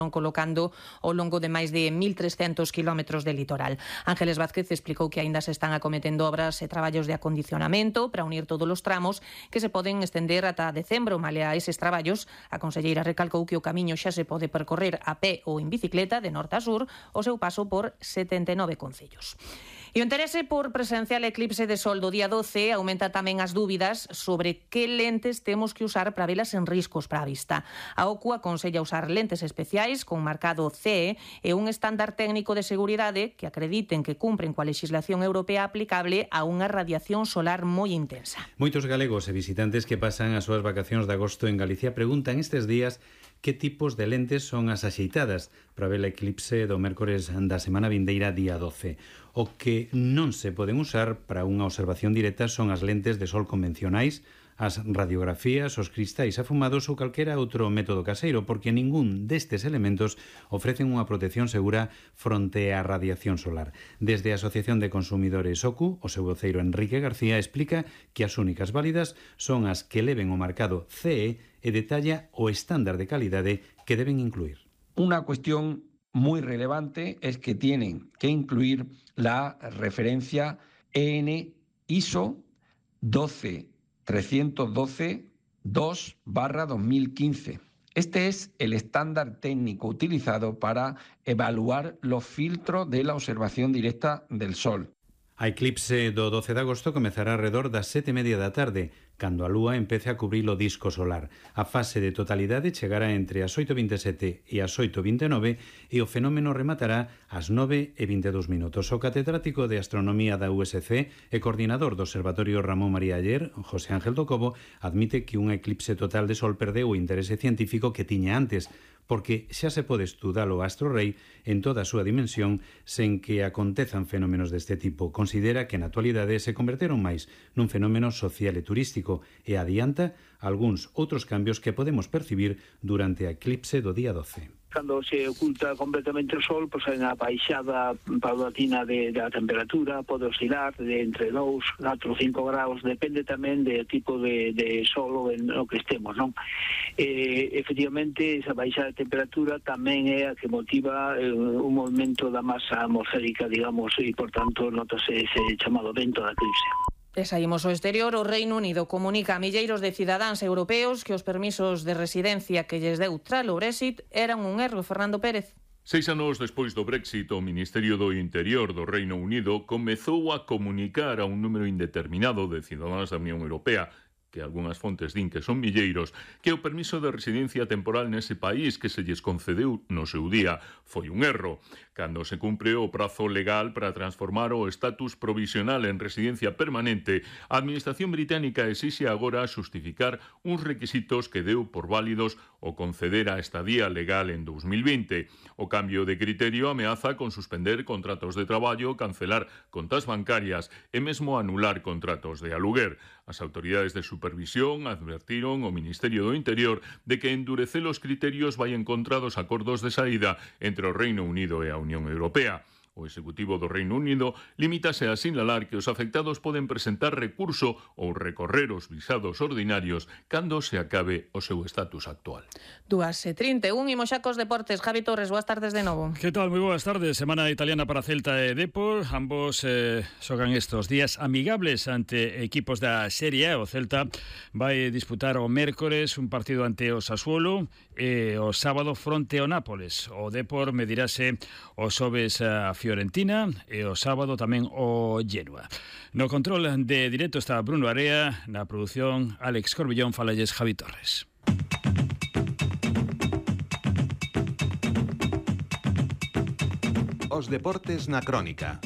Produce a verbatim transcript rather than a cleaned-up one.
colocando ao longo de máis de mil trescentos kilómetros de litoral. Ángeles Vázquez explicou que aínda se están acometendo obras e traballos de acondicionamento para unir todos os tramos que se poden estender ata decembro. Malia a eses traballos, a conselleira recalcou que o camiño xa se pode percorrer a pé ou en bicicleta de norte a sur o seu paso por setenta e nove concellos. E o interese por presenciar o eclipse de sol do día doce aumenta tamén as dúbidas sobre que lentes temos que usar para velas en riscos para a vista. A O C U aconsella usar lentes especiais con marcado C E e un estándar técnico de seguridade que acrediten que cumpren coa legislación europea aplicable a unha radiación solar moi intensa. Moitos galegos e visitantes que pasan as súas vacacións de agosto en Galicia preguntan estes días que tipos de lentes son as axeitadas para ver o eclipse do mércores da semana vindeira día doce. O que non se poden usar para unha observación directa son as lentes de sol convencionais, as radiografías, os cristais afumados ou calquera outro método caseiro, porque ningún destes elementos ofrecen unha protección segura fronte á radiación solar. Desde a Asociación de Consumidores O C U, o seu voceiro Enrique García explica que as únicas válidas son as que leven o marcado C E e detalla o estándar de calidade que deben incluir. Una cuestión muy relevante es que tienen que incluir la referencia E N I S O doce trescientos doce dos barra dos mil quince. Este es el estándar técnico utilizado para evaluar los filtros de la observación directa del Sol. A eclipse do doce de agosto comezará alrededor das sete e media da tarde, cando a lúa empece a cubrir o disco solar. A fase de totalidade chegará entre as oito e vinte e sete e as oito e vinte e nove e o fenómeno rematará ás nove e vinte e dous minutos. O catedrático de Astronomía da U S C e coordinador do Observatorio Ramón María Aller, José Ángel do Cobo, admite que un eclipse total de sol perdeu o interese científico que tiña antes, porque xa se pode estudar o astro rei en toda a súa dimensión sen que acontezan fenómenos deste tipo. Considera que na actualidade se converteron máis nun fenómeno social e turístico e adianta algúns outros cambios que podemos percibir durante a eclipse do día doce. Cando se oculta completamente o sol, pois hai unha baixada paulatina de, da temperatura, pode oscilar de entre dous, catro, cinco graus, depende tamén do tipo de, de sol en o que estemos, non? Eh, efectivamente, esa baixada de temperatura tamén é a que motiva eh, un movimento da masa atmosférica, digamos, e, por tanto, notase ese chamado vento da eclipse. E saímos ao exterior. O Reino Unido comunica a milleiros de cidadáns europeos que os permisos de residencia que lles deu tras o Brexit eran un erro. Fernando Pérez. Seis anos despois do Brexit, o Ministerio do Interior do Reino Unido comezou a comunicar a un número indeterminado de cidadáns da Unión Europea, que algunhas fontes din que son milleiros, que o permiso de residencia temporal nese país que se lles concedeu no seu día foi un erro. Cando se cumpre o prazo legal para transformar o estatus provisional en residencia permanente, a Administración británica exixe agora xustificar uns requisitos que deu por válidos o conceder a estadía legal en dous mil vinte. O cambio de criterio ameaza con suspender contratos de traballo, cancelar contas bancarias e mesmo anular contratos de aluguer. As autoridades de supervisión advertiron ao Ministerio do Interior de que endurecer os criterios vai en contra dos acordos de saída entre o Reino Unido e a Unión Europea. O Executivo do Reino Unido limítase a sinalar que os afectados poden presentar recurso ou recorrer os visados ordinarios cando se acabe o seu estatus actual. dúas e trinta e un, imos xa cos deportes. Javi Torres, boas tardes de novo. Que tal? Moi boas tardes. Semana italiana para Celta e Depor. Ambos eh, xogan estos días amigables ante equipos da Serie A. O Celta vai disputar o mércores un partido ante o Sassuolo e o sábado fronte ao Nápoles. O Depor medirase o xoves a Fiorentina e o sábado tamén o Genoa. No control de directo está Bruno Area, na produción Alex Corbillón, falalles Javi Torres. Os deportes na crónica.